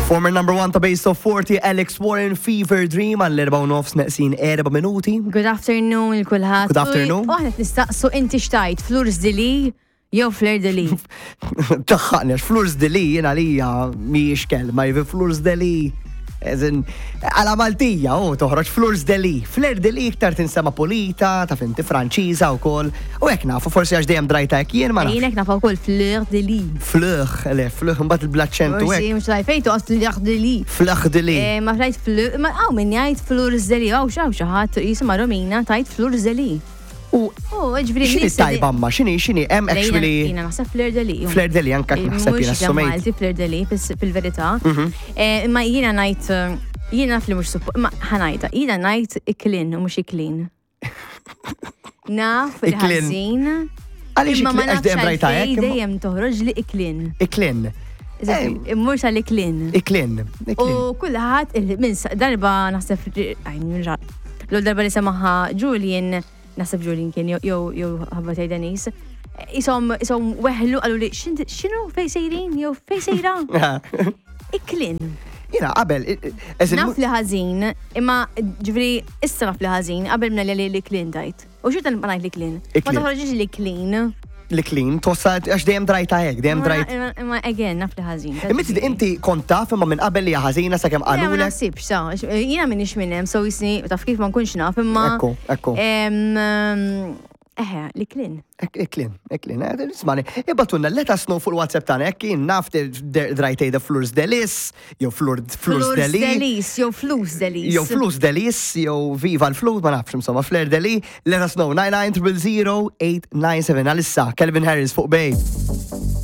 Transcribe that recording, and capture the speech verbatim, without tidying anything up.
Former number one ta' Base of forty, Alex Warren, Fever Dream, għall-erbgħa u nofs neqsin erba' minuti. Good afternoon lil kulħadd. Good afternoon. U aħna nistaqsu inti x'tgħid, Fleurs de Lis jew Fleur de Lis? Taħħaqni, għax Fleurs de Lis jiena lija mhijiex kelma, jivi Fleurs de Lis. Eżin, għala Maltija, u toħroġ Fleurs de Lis. Fleur de Lis iktar tinsema pulita, ta' finti Franċiża u kol. U hekk nafu, forsi għax dejjem drajta hekk jien, ma nafx. Jiena naf ukoll Fleur de Lis. Fleur, le, Fleur, mbagħad il-blaċċentu Forsi hekk. mhux tajt fejn toqgħod Fleur de Lis. Fleur de Lis. Eh, Ma tgħid Fleur, ma hawn min jgħid Fleurs de Lis, hawn xi xi ħadd jisimha Romina tgħid Fleurs de Lis. U Oh, ġifieri x'inhi tajba ma, x'inhi, x'inhi, hemm actually Jiena naħseb Fleur de Lis. Fleur de Lis anka naħseb jiena Mhux assumejt. Malti Fleur de Lis fis- fil-verità. Mhm. Eh, Imma jiena ngħid eh, jiena naf li mhux suppo, ma ħa ngħidha, jiena ngħid iklin u mhux iklin. Naf li Iklin. ħażin. Għaliex Imma ma iklin, għax nafx dejjem rajta għalfejn hekk. imma- dejjem toħroġ li iklin. Iklin. Eżempju, Immur tal-iklin. Iklin. Iklin. U kulħadd il- minn sa- darba naħseb għajn nirġa'. L darba li semaħa Julian, naħseb Julian kien jew jew jew ħabba tgħid Denise. Isom isom weħlu qalu li "X'inti- x'inhu fej sejrin jew fej sejra? Iklin. Jiena qabel, eżin, Naf li ħażin, imma ġifieri issa naf li ħażin qabel minna li li klin tajt. U xorta nibqa' ngħid li klin. Ma Iklin. toħroġix li klin. Li klin, tossa għax dejjem drajta hekk, dejjem drajt. Imma imma again naf li ħażin. Imma inti inti kont taf imma minn qabel li hija ħażina sakemm Le, ma qalulek. naħsibx, sa, jiena minix minn hemm, so jisni, taf kif, ma nkunx naf, imma. Ekku, ekku. Em, em, Eħe, li klin. Iklin, iklin, eh, ismani, ibagħtulna, let us know fuq il-WhatsApp tagħna jekk jien naf drajtejda Fleurs de Lis, jew Fleur Fleurs de Lis, Delis, jew Flus Delis. Jew Flus de Lis, jew Viva l-Flus, ma nafx insomma, Fleur de Lis, let us know, nine nine zero zero eight nine seven. Għalissa, Calvin Harris fuq Bay.